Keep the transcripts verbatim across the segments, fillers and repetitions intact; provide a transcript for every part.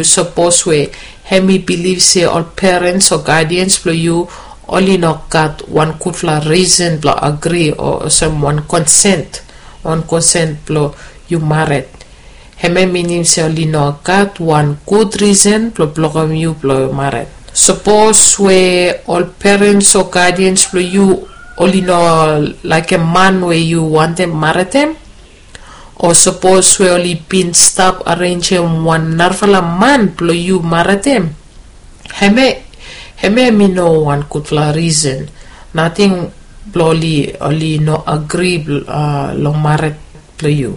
Sapos we hem i bilif se ol perens o gadians blong yu oli no gat wan gudfala risen blong agri o olsem wan konsen, wan konsen blong yu mared, hem ya minim se oli no gat wan gud risen blong blokem yu blong mared. Sapos we ol perens o gadians blong yu oli no laikim man we yu wantem maredem, o sapos we oli bin stap arenjem wan narafala man blong yu maredem, hem ya hem ya hem i no wan gudfala risen. Nating blong oli oli no agri long mared blong yu.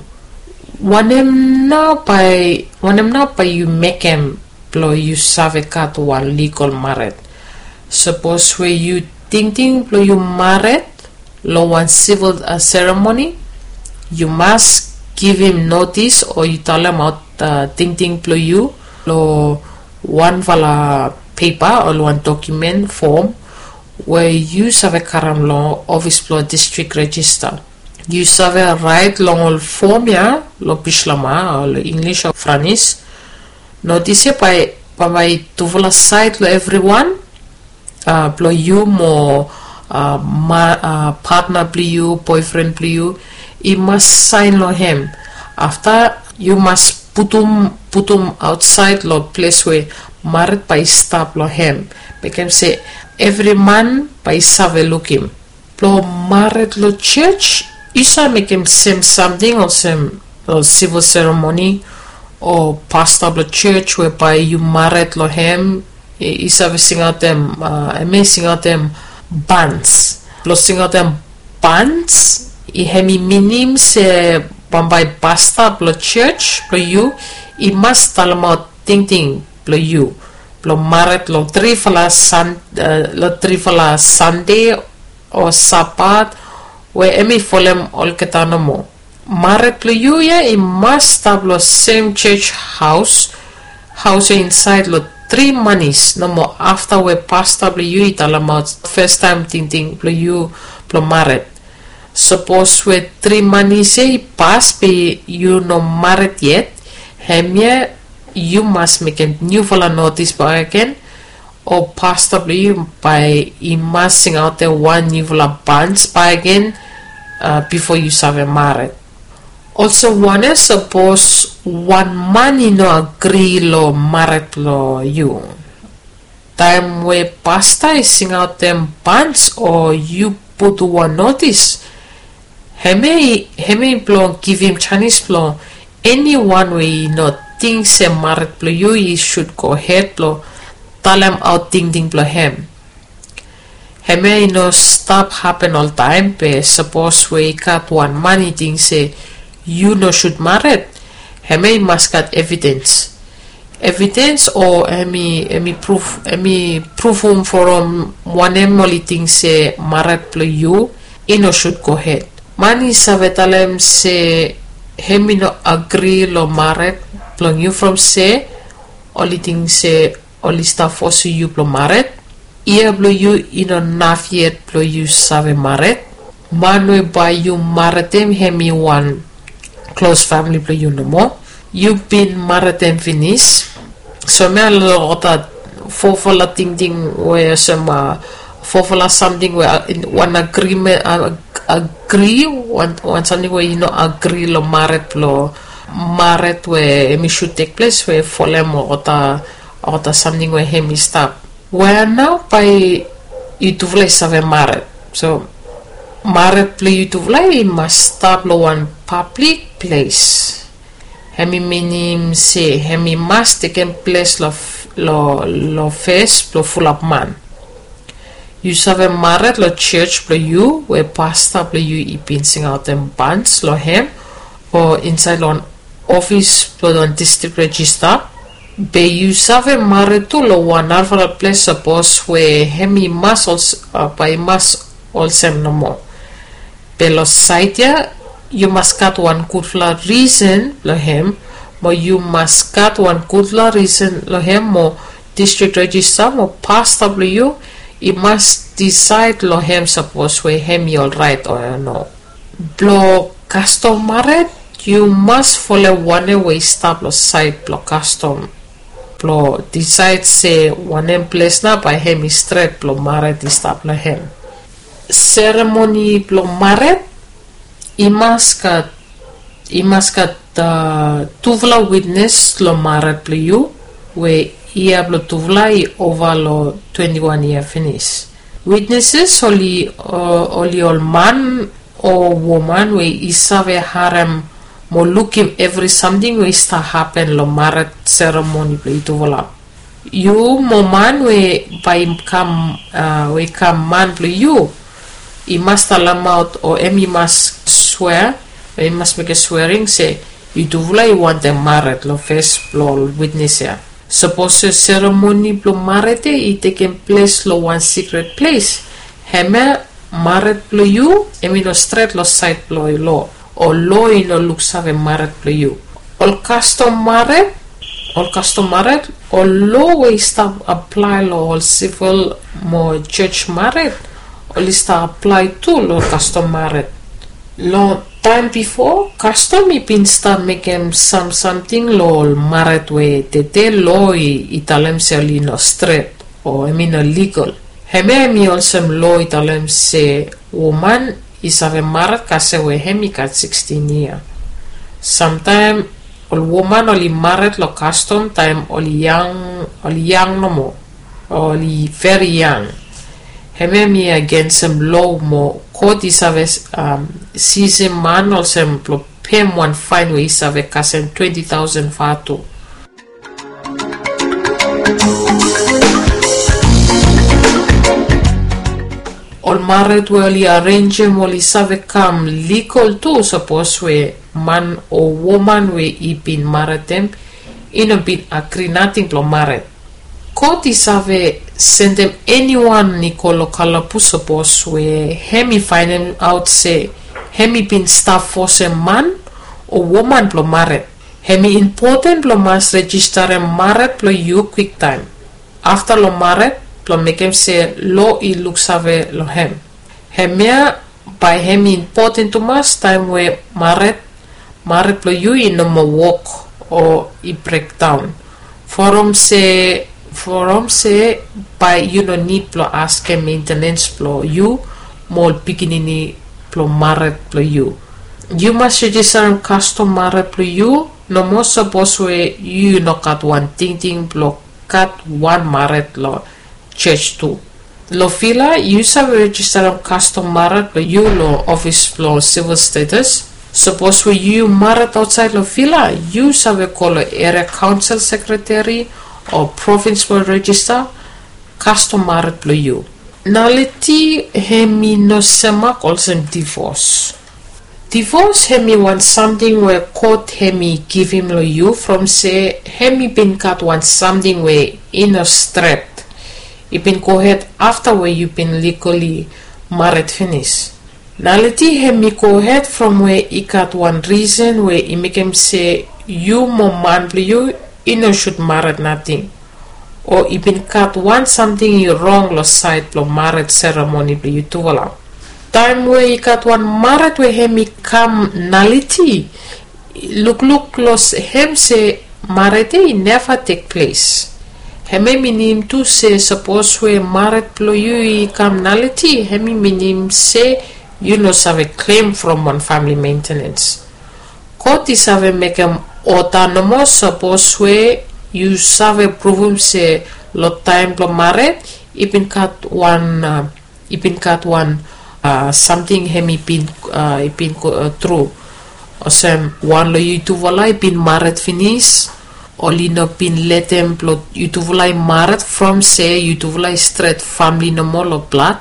Wanem nao bae wanem nao bae yu mekem blong yu save gat wan ligol mared? Sapos we yu tingting blong yu mared long wan sivil seremoni, yu mas givim notis o yu talemaot tingting blong yu long wanfala pepa o long wan dokumen fom we yu save karem long ofis blong distrik rejista. Yu save raet long ol fom ya long bislama o long inglis o franis. Notis ya bae bambae tufala saed long evriwan, blong yu mo patna blong yu, boefren blong yu, i mas saen long hem. Afta yu mas putum putum aotsaed long ples we mared bae i stap long hem, mekem se evri man bae i save lukim. Blong mared long jos, yu save mekem sem samting olsem long sivil seremoni o pasta blong jos we bae yu mared long hem, i save singaotem, hem ya i singaotem bans. Blong singaotem bans, hem i minim se bambae pasta blong jos blong yu i mas talemaot tingting blong yu blong mared long trifala san long trifala sande o sabat we hem i folem olgeta nomo. Mared blong yu ya i mas stap long sem jos haos haos ya insaed long tri manis nomo afta we pasta blong yu i talemaot fastaem tingting blong yu blong mared. Sapos we tri manis ya i pas be yu no mared yet, hemia yu mas mekem niufala notis bakegen, o pasta blong yu bae i mas singaotem wan niufala bans bakegen bifo yu save mared. Olsem wanem sapos wan man i no agri long mared blong yu? Taem we pasta i singaotem bans o yu putum wan notis, hemia i blong givim janis blong eniwan we i no ting se mared blong yu i sud gohed blong talemaot tingting blong hem. Hemia i no stap hapen oltaem be sapos we i gat wan man i ting se yu no sud mared, hemia i mas gat evidens. Evidens o hem i hem i pruvum from wanem oli ting se mared blong yu i no sud gohed. Man i save talem se hem i no agri long mared blong yu from se oli ting se oli stap fosim yu blong mared. Yia blong yu i no naf yet blong yu save mared. Man we bae yu maredem hem i wan klos famili blong yu nomo. Yu bin maredem finis. So mi a long olgeta fofala tingting we olsem fofala samting we wan agrimen agri wan samting we i no agri long mared blong mared we hem i sud tekples we folem olgeta olgeta samting we hem i stap. Wea nao bae yutufala i save mared? So mared blong yutufala i mas stap long wan pablik ples. Hem i minim se hem i mas tekem ples long fes blong fulap man. Yu save mared long jos blong yu we pasta blong yu i bin singaotem bans long hem o insaed long wan ofis blong wan distrik rejista. Be yu save mared tu long wan narafala ples sapos we hem i mas bae i mas olsem nomo. Be long saed ya yu mas gat wan gudfala risen long hem, mo yu mas gat wan gudfala risen long hem mo distrik rejista mo pasta blong yu i mas disaed long hem sapos we hem i olraet o no. Blong kastom mared yu mas folem wanem we i stap long saed blong kastom. blong disaed se wanem ples nao bae hem i stret blong mared i stap long hem. Seremoni blong mared i mas gat i mas gat tufala witnes long mared blong yu we yia blong tufala i ova long twenti wan yia finis. Witneses oli ol man o woman we i save harem mo lukim evri samting we i stap hapen long mared seremoni blong yutufala. Yu mo man we bae i kam we i kam man blong yu i mas talemaot o em i mas swea o i mas mekem swering se yutufala i wantem mared long fes blong ol witnes ya. Sapos seremoni blong mared ya i tekem ples long wan sikret ples, hemia mared blong yu em i no stret long saed blong lo o lo i no luksave mared blong yu. Ol kastom mared ol kastom mared ol lo we i stap aplae long ol sivil mo joj mared oli stap aplae tu long kastom mared. Long taem bifo kastom i bin stap mekem sam samting long ol mared we tede lo i talem se oli no stret o em i no ligol. Hemia em i olsem lo i talem se woman i save mared kasem we hem i gat sikstin yia. Samtaem ol woman oli mared long kastom taem oli yang oli yang nomo o oli veri yang. Hemia em i agensem lo mo kot i save sisim man olsem blong pem wan faen we i save kasem twenti taosen vatu. Ol mared we oli arenjem oli save kam ligol tu sapos we man o woman we i bin maredem i no bin agri nating blong mared. Kot i save sendem eniwan i go long kalabus sapos we hem i faenemaot se hem i bin stap fosem man o woman blong mared. Hem i impoten blong mas rejistarem mared blong yu kwiktaem afta long mared blong mekem se lo i luksave long hem. Hemia bae hem i impoten tumas taem we mared mared blong yu i no moa wok o i brekdaon. From se from se bae yu no nid blong askem mentenens blong yu mo ol pikinini blong mared blong yu. Yu mas rejistarem kastom mared blong yu nomo sapos we yu no gat wan tingting blong gat wan mared long joj tu. Long vila yu save rejistarem kastom mared blong yu long ofis blong sivil status. Sapos we yu mared aotsaed long vila yu save go long eria kaonsel sekreteri o provins blong rejista kastom mared blong yu. Naliti hem i no semak olsem divos. Divos hem i wan samting we kot hem i givim long yu from se hem i bin gat wan samting we i no stret i bin gohed afta we yu bin ligoli mared finis. Naliti hem i gohed from we i gat wan risen we i mekem se yu mo man blong yu i no sud mared nating o i bin gat wan samting i rong long saed blong mared seremoni blong yutufala. Taem we i gat wan mared we hem i kam naliti lukluk long hem se mared ya i neva tekples. Hem ya i minim tu se sapos we mared blong yu i kam naliti hem i minim se yu no save klem from wan famili mentenens. God i save mekem oda nomo sapos we yu save pruvum se long taem blong mared i bin gat wan i bin gat wan samting hem i bin i bin go tru. Olsem wan long yutufala i bin mared finis, oli no bin letem blong yutufala i mared from se yutufala i stret famili nomo long blad.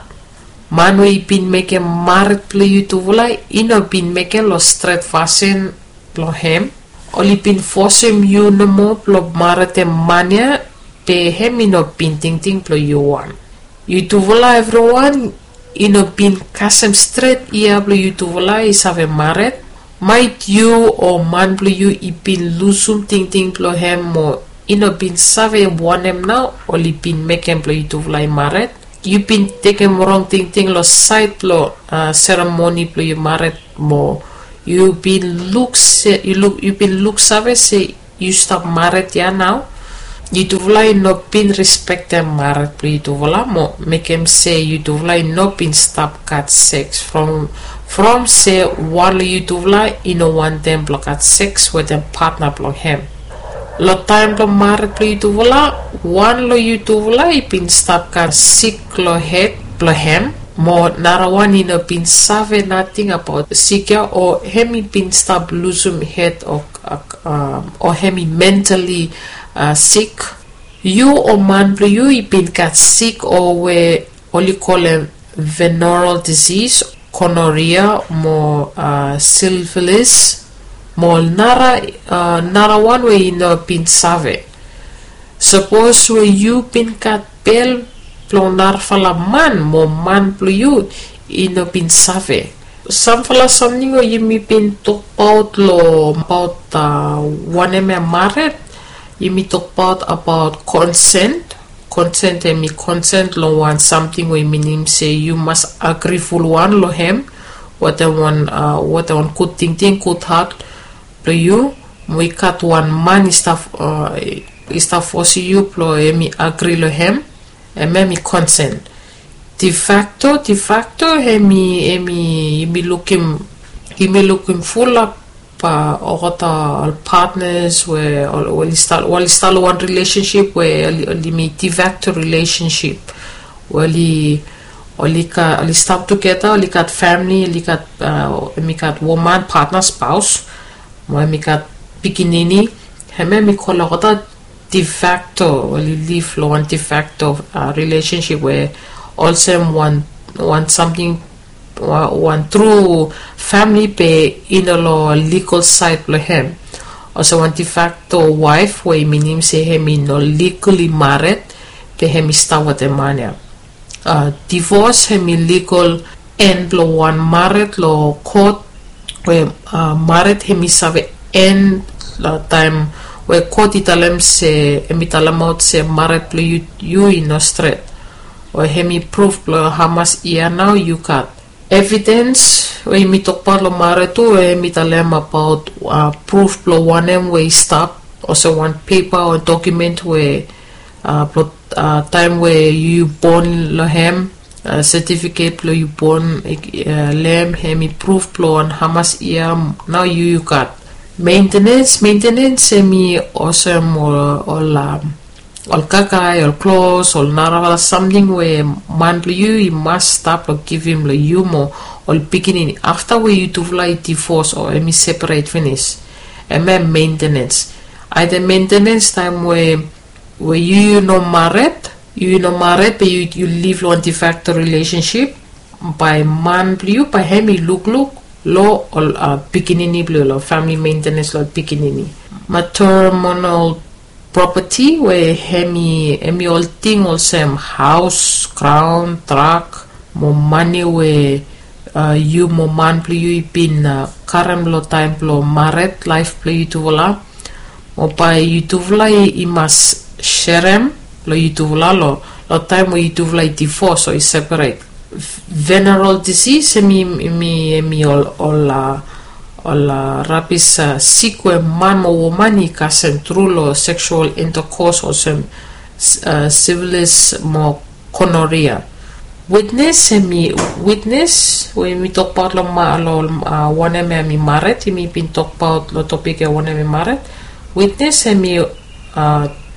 Man we i bin mekem mared blong yutufala i no bin mekem long stret fasin blong hem. Oli bin fosem yu nomo blong maredem man ya, be hem i no bin tingting blong yu wan. Yutufala evriwan i no bin kasem stret yia blong yutufala i save mared. Maet yu o man blong yu i bin lusum tingting blong hem mo i no bin save wanem nao oli bin mekem blong yutufala i mared. Yu bin tekem rong tingting long saed blong seremoni blong yu mared mo yu bin luk se yu luk yu bin luksave se yu stap mared ya nao. yutufala i no bin rispektem maret blong yutufala mo mekem se yutufala i no bin stap gat seks from from se wan long yutufala i no wantem blong gat seks wetem patna blong hem. Long taem blong maret blong yutufala, wan long yutufala i bin stap gat sik long hed blong hem, mo narawan i no bin save nating abaot sik ya o hem i bin stap lusum hed o o hem i mentali sik. Yu o man blong yu i bin gat sik o we oli kolem veneral disis, konoria mo silvilis mo nara narawan we i no bin save. Sapos we yu bin gat bel blong narafala man mo man blong yu i no bin save. Samfala samting we yumi bin tokbaot long abaot wanem ya maret, yumi tokbaot abaot konsent. Konsent hem i konsent long wan samting we i minim se yu mas agri fulwan long hem. Wetem wan wetem wan gud tingting, gud hat blong yu mo i gat wan man i stap i stap fosim yu blong hem i agri long hem. Hem hem i konsent. De facto, de facto hem i hem i yumi lukim yumi lukim fulap olgeta ol patnas we oli stap long wan rilesensip we oli mekim de facto rilesensip we oli oli stap tugeta, oli gat famili, oli gat hem i gat woman patna spaos mo hem i gat pikinini. Hem hem i kolem olgeta de facto, oli liv long wan de facto rilesensip we olsem wan wan samting wan tru famili be i no long ligal saed blong hem. Olsem wan de facto waef we i minim se hem i no ligali maret be hem i stap wetem man ya. Divos hem i ligal en blong wan maret long kot we maret hem i save en long taem we kot i talem se hem i talemaot se maret blong yu i no stret. O hem i pruf blong hamas yia nao yu gat. Evidens we yumi tokbaot long maret tu we hem i talem abaot pruf blong wanem we i stap olsem wan pepa o dokumen we blong taem we yu bon long hem, setifiket blong yu bon long hem hem i pruf blong wan hamas yia nao yu yu gat. Mentenens mentenens hem i olsem ol ol kakae ol klos ol narafala samting we man blong yu i mas stap long givim long yu mo ol pikinini afta we yutufala i divos o hem i seperet finis. Hem hem mentenens. Aede mentenens taem we we yu yu no maret yu yu no maret be yu yu liv long wan de facto rilesensip, bae man blong yu bae hem i lukluk long ol pikinini blong yu long famili mentenens long ol pikinini. Matermonal propati we hem i hem i ol ting olsem haos, graon, trak mo mane we yu mo man blong yu i bin karem long taem blong maret laef blong yutufala. Mo bae yutufala i mas serem long yutufala long taem we yutufala i divos o i seperet. Veneral disis hem i hem i ol ol ol rabis sik we man mo woman i kasem tru long seksual intakos olsem sivilis mo konoria. Witnes hem i witnes we yumi tokbaot long wanem hem i maret yumi bin tokbaot long topik ya wanem hem i maret. Witnes hem i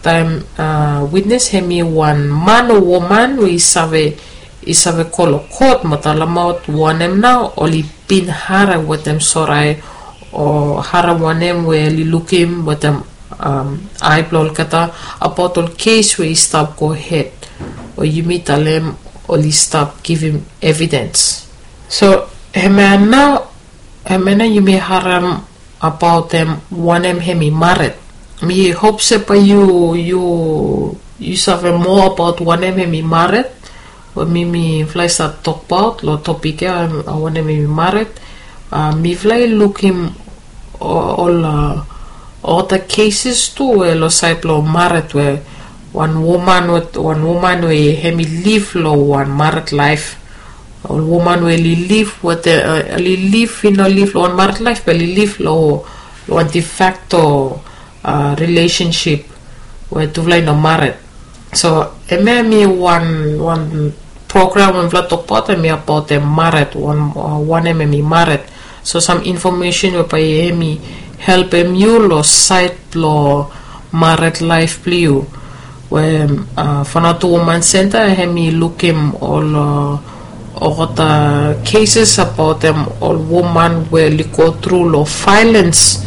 taem witnes hem i wan man o woman we i save i save go long kot mo talemaot wanem nao oli bin harem wetem sorae o harem wanem we oli lukim wetem ae blong olgeta abaot ol kes we i stap gohed o yumi talem oli stap givim evidens. So hemia nao hemia nao yumi harem abaot hem wanem hem i maret. Mi hop se bae yu yu yu save moa abaot wanem hem i maret. We mi mifala i save tokbaot long topik ya wanem hem i maret. Mifala i lukim ol olgeta keses tu we long saed blong maret we wan woman we wan woman we hem i liv long wan maret laef. Ol woman we oli liv wetem oli liv i no liv long wan maret laef be oli liv long wan de facto rilesensip. we tufala i no maret. So hemia hemi wan wan program we mifala tokbaot, hemi abaot em maret, wan wanem hemi maret. So sam infomesen we bae hemi helpem yu long saed blong maret laef blong yu. We Vanuatu Woman Center hemi lukim ol olgeta cases abaot em ol woman we oli go tru long violens,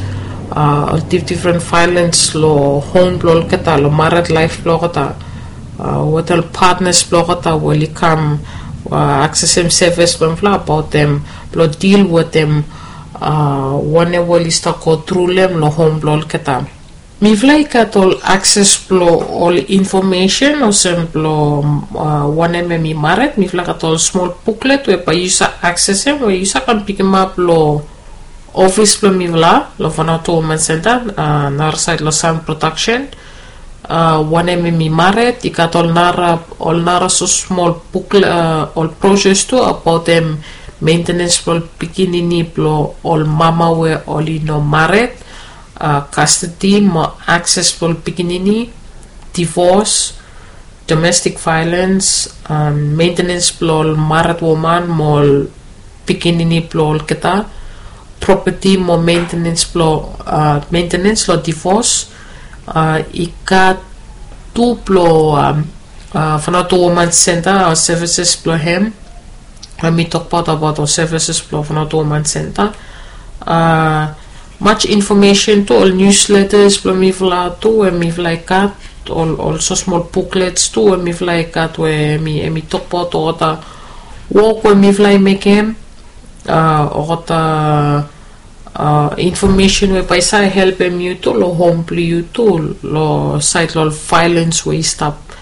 ol difdifren violens long hom blong olgeta, long maret laef blong olgeta, wetem ol patnas blong olgeta we oli kam aksesem sevis blong mifala abaot em blong dil wetem wanem we oli stap go tru long em long hom blong olgeta. Mifala i gat ol akses blong ol infomesen olsem blong wanem hemi maret. Mifala gat ol smol buklet we bae yu save aksesem we yu save kam pikimap long ofis blong mifala long Vanuatu Woman Center, narasaed long Sound Production. Wanem hemi maret, i gat ol nara ol nara so smol buklet, ol broses tu abaot em maintenance blong ol pikinini blong ol mama we oli no maret, custody mo akses blong ol pikinini, divos, domestic violens, maintenance blong ol maret woman mo ol pikinini blong olgeta, propeti mo maintenance blong maintenance long divos. I gat tu blong Vanuatu Woman Center, sevises blong hem. Hemi tokbaot abaot ol sevises blong Vanuatu Woman Center. Much infomesen tu, ol niusletas blong mifala tu we mifala i gat, ol so smol buklets tu we mifala i gat we hemi tokbaot olgeta wok we mifala i mekem, olgeta infomesen we bae i save helpem yu tu long hom blong yu tu, long saed long ol violens we i stap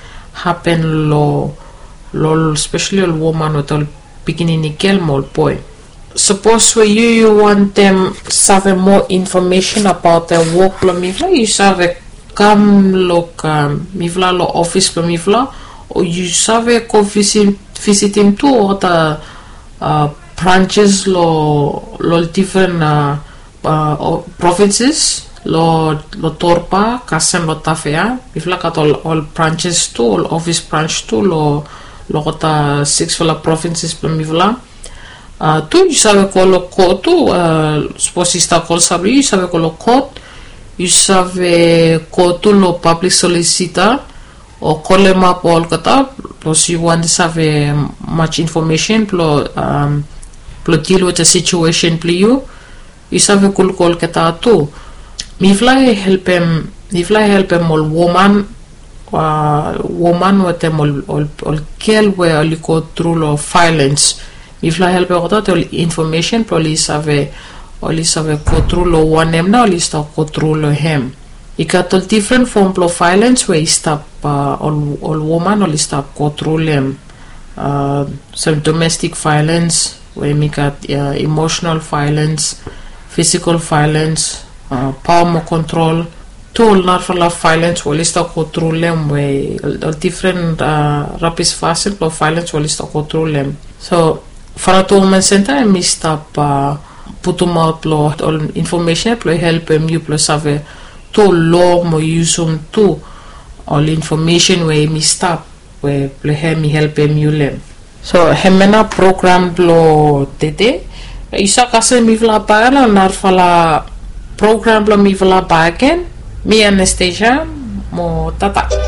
hapen long ol spesali ol woman wetem ol pikinini gel mo ol boe. Sapos we yu yu wantem save moa infomesen abaot wok blong mifala, yu save kam long mifala long ofis blong mifala, o yu save go visitim tu olgeta branches long ol difren provinses, long Torba kasem long Tafea. Mifala gat ol branches tu, ol ofis brans tu long olgeta siksfala provinses blong mifala. Tu yu save go long kot tu, sapos i stap go long save yu save go long kot. Yu save go tu long pablik solisita o kolemap olgeta, sapos yu wantem save much infomesen blong dil wetem situesen blong yu. Yu save go luk olgeta tu. Mifala i helpem mifala i helpem ol woman woman wetem ol gel we oli go tru long violens. Mifala i helpem olgeta wetem ol infomesen blong oli save oli save go tru long wanem nao oli stap go tru long hem. I gat ol difren fom blong violens we i stap ol woman oli stap go tru long hem. Olsem domestik violens we hemi gat emosenal violens, fisikol violens, paoa mo kontrol, tu ol narafala violens we oli stap go tru long hem, we ol difren rabis fasin blong violens we oli stap go tru long hem. So Vanuatu Woman Center hemi stap putumaot long ol infomesen blong helpem yu blong save tu lo mo yusum tu ol infomesen we hemi stap we blong hemi helpem yu long hem. So hemia nao program blong tede. Yu save kasem mifala bakegen long narafala program blong mifala bakegen. Mi Anastasia mo tata.